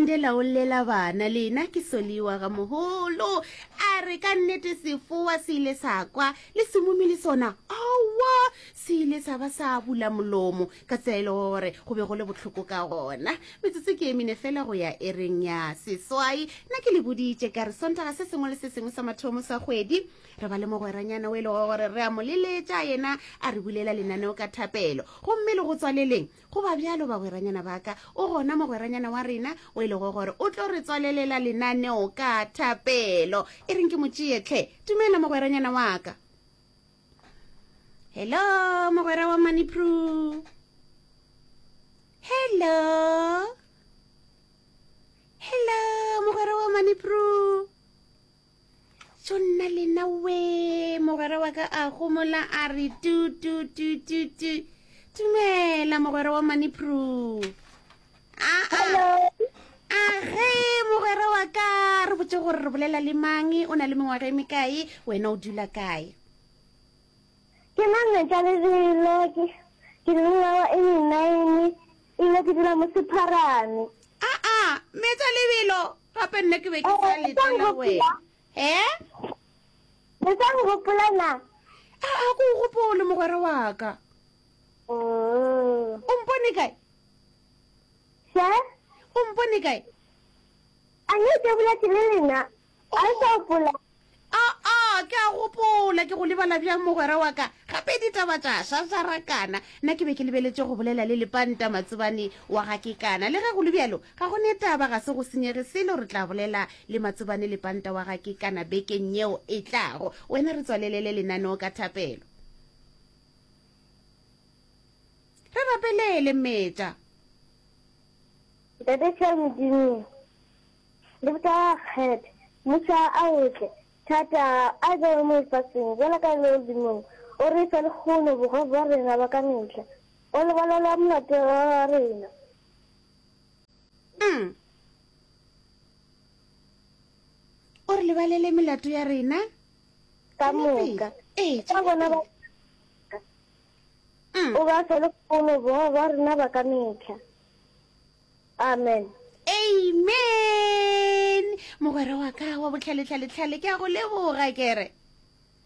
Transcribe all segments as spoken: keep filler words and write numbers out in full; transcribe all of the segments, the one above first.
Mandela o llela bana lena ke Soliwa ga mogolo. A re ka nnete sefoa se ile sa kwa le semumi le sona aowa se ile sa ba sa bula molomo ka tsela e le gore go be go le bohloko ka gona. Metsotso ke e mene fela go ya ereng ya seswai. Nna ke le boditše ka re Sontaga se sengwe le se sengwe sa mathomo sa kgwedi re ba le mogweranyana o e lego gore re a mo leletša yena a re bulela lenaneo ka thapelo. Gomme le go tswaleleng go ba bjalo bagweranyana ba ka, o gona mogweranyana wa rena o e lego gore o tlo re tswalelela lenaneo ka thapelo. E reng ke mo tšee hle. Dumela mogweranyana wa ka. Hello mogwera wa Manipru. Hello. Hello mogwera wa Manipru. Tšo nna lena we mogwera wa ka a gomola a re tu tu tu tu tu. Dumela mogwera wa Manipru. A a Hello. a ge mogwera wa ka re botse gore re bolela le mang, o na le mengwaga e mekae, wena o dula kae? Ke nna Mmetša Lebelo, ke ke le mengwaga e menine, ebile ke dula mo Sepharane. A a Mmetša Lebelo, gape nna ke be ke sa Eh, le sa letela nkgopola? wena. He? Le sa nkgopola na? A a ko o gopole mogwera wa ka. Mm. O mpone kae? Še? O mpone kae? A ne ke boletše le lena? A le sa Oh. gopola? A a ke a gopola, ke go lebala bjang mogwera wa ka. Gape ditaba tša šašarakana. Nna ke be ke lebeletše go bolela le Lepanta Matsobane wa ga Kekana. Le ge go le bjalo, ga go ne taba, ga se go senyege selo, re tla bolela le Matsobane Lepanta wa ga Kekana bekeng yeo e tlago. Wena re tswalelele lenaneo ka thapelo. Re rapelele Mmetša. Ntate hle Modimo, le botsa kgethe, mmušo a o tle, thata a be mo lefaseng bjalo ka legodimong. O re fe lehono bogobe bja rena ba ka mehla, o lebalele molato wa rena. Mm. O re lebalele melato ya rena. Ka Tšwela pele. moka. Ee, Ka tšwela bona ba pele. Mm. o ba fe lehono bogobe bja rena ba ka mehla. Amen. Amen. Mogwera wa ka wa botlhaletlhaletlhale, ke a go leboga kere.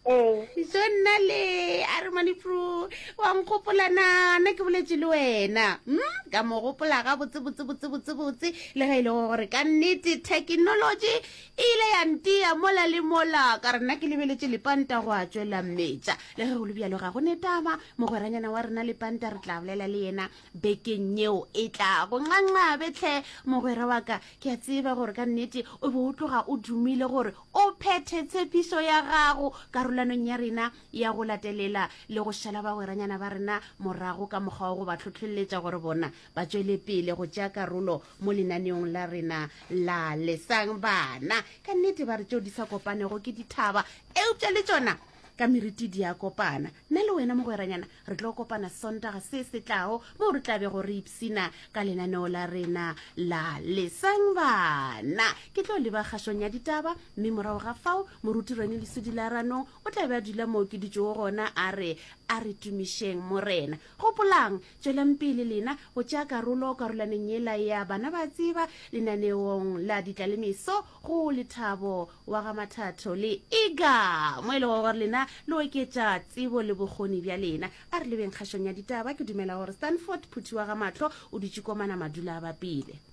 Ee. So nna le a re Manipro wa nkgopola na nna ke boletše le wena. Mm? Ka mo gopola ga botse botse botse botse botse le ge e le gore ka nnete technology e ile ya ntia mola le mola ka re nna ke lebeletše Lepanta go a tšwela mmetša. Le ge go le bjalo ga go ne taba mogweranyana wa rena Lepanta re tla bolela le yena bekeng yeo e tlago. Nxanxabe tlhe mogwera wa ka, ke a tseba gore ka nnete o be o tloga o dumile gore o phethe tshepišo ya gago karolanong ya rena ya go latelela le go šala bagweranyana ba rena morago ka mokgwa wa go ba hlohleletša gore bona ba tšwele pele go tšea karolo mo lenaneong la rena la Lesang Bana. Ka nnete ba re tšeo di sa kopanego ke dithaba, eupša le tšona ka meriti di a kopana. Nna le wena mogweranyana re tlo kopana Sontaga se se tlago moo re tla bego re ipsina ka lenaneo la rena la Lesang Bana. Ke tlo leba kgašong ya ditaba, mme morago ga fao moruti Rene Lesodi la Ranong o tla be a dula moo ke dutšego gona a re a re tumišeng Morena. Gopolang, tšwelang pele lena go tšea karolo karolaneng yela ya Bana ba Tseba lenaneong la Ditlalemeso go Lethabo wa ga Mathatho le Iga, mo e lego gore lena le oketša tsebo le bokgoni bja lena. A re lebeng kgašong ya ditaba. Ke dumela gore Stanford Phuthi wa ga Mahlo o dutše komana madula a bapile.